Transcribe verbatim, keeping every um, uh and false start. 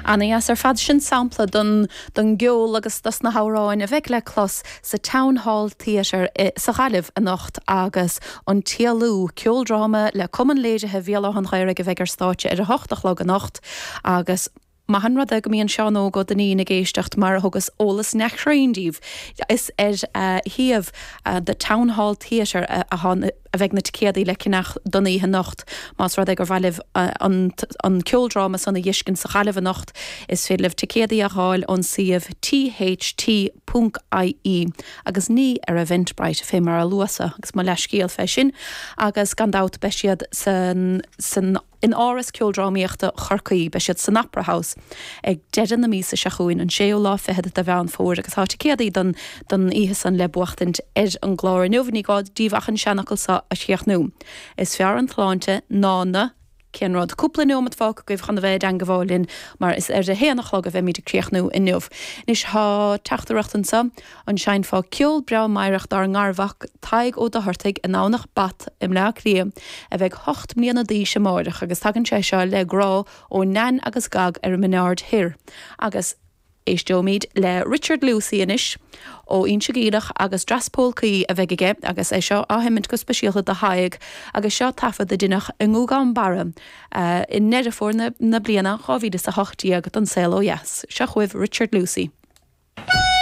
Ana-dheas ar fad sin sampla don don gceol agus dos na hamhráin a bheidh le clos sa Town Hall Theatre sa Ghaillimh anocht agus an tÉalú ceoldráma le Cumann Léirithe Bhéal Átha an Ghaorthaidh a bheidh ar stáitse ar a hocht a chlog anocht agus Maith an rud é go mbíonn Seán Óg Ó Duinnín ag éisteacht mar a thugas eolas neamhchruinn daoibh. Is ar uh, shuíomh uh, the Town Hall Theatre a, a, a bheidh na ticéadaí le ceannach don oíche anocht más rud é gur mhaith libh uh, an, an ceoldráma san a fheiscint sa Ghaillimh anocht is féidir libh ticéadaí a fháil ón suíomh tht.ie agus ní ar Eventbrite fé mar a luasa agus mo leithscéal fé sin agus gan dabht beidh siad san, san in Áras Ceoldrámaíochta Chorcaí beidh siad san Opera House ag deireadh na míosa seo chugainn an séú lá fichead de Mheán Fómhair agus tá ticéadaí don don oíche san le buachtaint ar an gclár inniu ní gá daoibh ach an seanfhocal seo a chríochnú. Is fearr an tsláinte ná na cén rud cúpla nóiméad fágtha agaibh chun a bheith ag gabháil linn mar is ar a haon a chlog a bheimid ag críochnú inniu. Anois tá teachtaireacht anseo an seinnfeá ceol breá meidhreach dár ngarmhac Tadhg Ó Dochartaigh i nDomhnach Bat i mBleá Cliath a bheidh ocht mbliana d'aois amárach agus tagann sé seo le grá ó Nan agus Gag ar an mBineard Thoir. Agus éisteoimid le Richard Lucey anois ó Inse Geimhleach agus Dreas Pólcaí a bheidh aige agus é seo á sheimint go speisialta do Thadhg agus seo taifead a deineadh i nGúgán Barra uh, i nDeireadh Fómhair na, na bliana dhá mhíle a hocht déag don saol ó dheas. Seo chugaibh Richard Lucey.